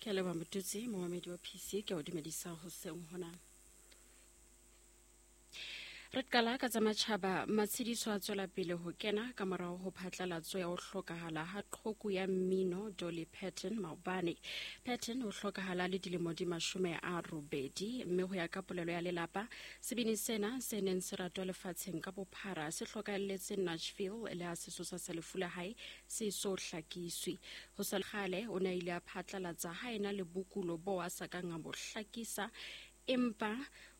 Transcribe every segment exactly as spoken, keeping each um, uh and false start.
Ke a leboha Motutsi, momamedi wa P C, ke a o dumedisa hoseng hona. Re qala ka tsa matjhaba. Matshediso a tswela pele ho kena ka morao ho phatlalatso ya ho hlokahala ha qhoku ya mmino Dolly Parton maobane. Parton o hlokahala le dilemo di mashome a robedi, mme ho ya ka polelo ya lelapa, sebini sena se neng se ratwa lefatsheng ka bophara se hlokahalletse Nashville le ha sesosa sa lefu la hae se so hlakiswe. Ho sa kgale o ne a ile a phatlalatsa ha ena le bokulo bo a sa kang a bo hlakisa, empa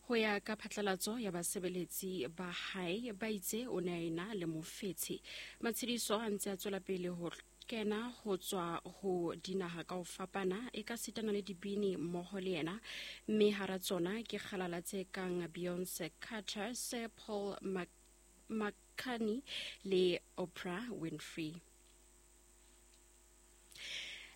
ho ya ka phatlalatso ya basebeletsi ba hae ba itse o ne a ena le mofetshe. Matshediso a ntse a tswela pele ho kena ho tswa ho dinaha ka ho fapana, e ka sitana le dibini mmoho le yena, mme hara tsona ke kgalala tse kang Beyonce Carter, Sir Paul McCartney le Oprah Winfrey.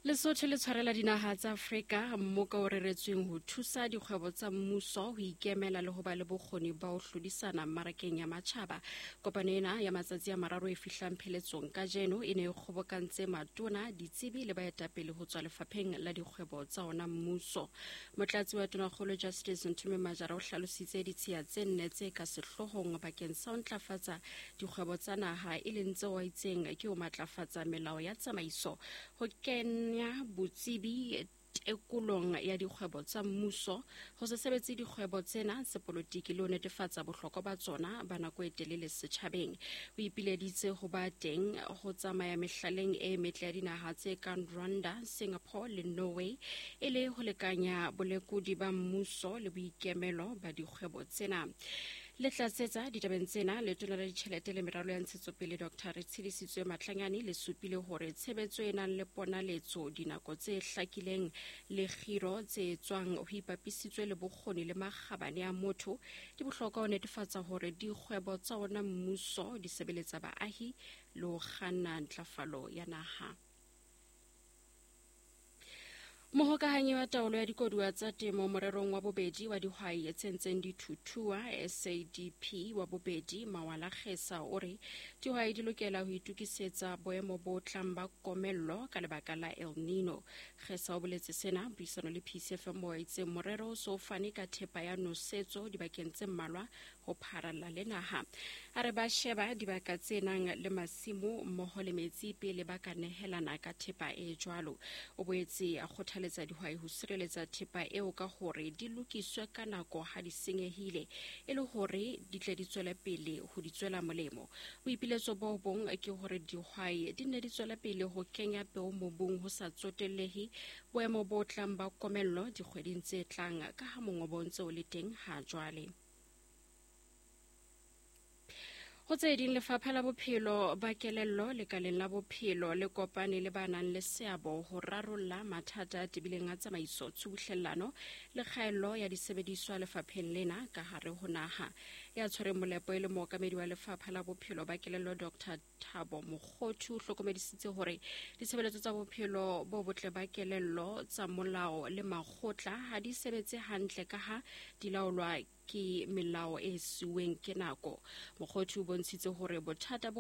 Lesotho le tshwarela dinaha tsa Afrika mmoka o reretsweng ho thusa dikgwebo tsa mmuso ho ikemela le ho ba le bokgoni ba ho hlodisana mmarakeng ya matjhaba. Kopano ena ya matsatsi a mararo e fihlang pheletsong kajeno e ne e kgobokantse matona, ditsebi le baetapele ho tswa lefapheng la dikgwebo tsa ona mmuso. Motlatsi wa Tonakgolo Justice Nthume Majara o hlalositse ditshiya tse nne tse ka sehloohong bakeng sa ho ntlafatsa dikgwebo tsa naha, e leng tseo a itseng ke ho matlafatsa melao ya tsamaiso, ho kena ya botsebi tekolong ya dikgwebo tsa mmuso, ho se sebetse dikgwebo tsena sepolotiki le ho netefatsa bohlokwa ba tsona ba nako e telele setjhabeng. O ipileditse ho ba teng ho tsamaya mehlaleng e metle ya dinaha tse kang Rwanda, Singapore le Norway, e le ho lekanya bolekodi ba mmuso le boikemelo ba dikgwebo tsena. Le tlatsetsa ditabeng tsena, letona la ditjhelete le meralo ya ntshetsopele Doctor Retshidisitswe Matlanyane le supile hore tshebetso e nang le ponaletso, dinako tse hlakileng le kgiro tse tswang ho ipapisitswe le bokgoni le makgabane a motho di bohlokwa ho netefatsa hore dikgwebo tsa ona mmuso di sebeletsa baahi le ho kganna ntlafalo ya naha. Mohokahanyi wa taolo ya dikoduwa tsa temo morerong wa bobedi wa dihwai tse ntseng di thuthuwa S A D P wa bobedi Mawala Kgesa o re dihwai di lokela ho itokisetsa boemo bo tlang ba komello ka lebaka la El Nino. Kgesa o boletse sena puisano le P C F M o itse morero o so fane ka thepa ya nosetso dibakeng tse mmalwa ho pharalla le naha. A re ba sheba dibaka tse nang le masimo mmoho le metsi pele ba ka nehelana ka thepa e jwalo. O boetse a kgothaletsa dihwai ho sireletsa thepa eo ka hore di lokiswe ka nako ha di senyehile e le hore di tle di tswele pele ho di tswela molemo. Boipiletso bo bong ke hore dihwai di nne di tswele pele ho kenya peo mobung ho sa tsotellehe boemo bo tlang ba komello dikgweding tse tlang ka ha mongobo o ntse o le teng ha jwale. Ho tse ding, lefapha la bophelo ba kelello lekaleng la bophelo le kopane le ba nang le seabo ho rarolla mathata a tebileng a tsamaiso, tshubuhlellano le kgaello ya disebediswa lefapheng lena ka hare ho naha. Ya tshwereng molepo e le mookamedi wa lefapha la bophelo ba kelello Doctor Thabo Mokgothu o hlokomedisitse hore ditshebeletso tsa bophelo bo botle ba kelello tsa molao le makgotla ha di sebetse hantle ka ha di laolwa ke melao e siuweng ke nako. Mokgothu o bontshitse hore bothata bo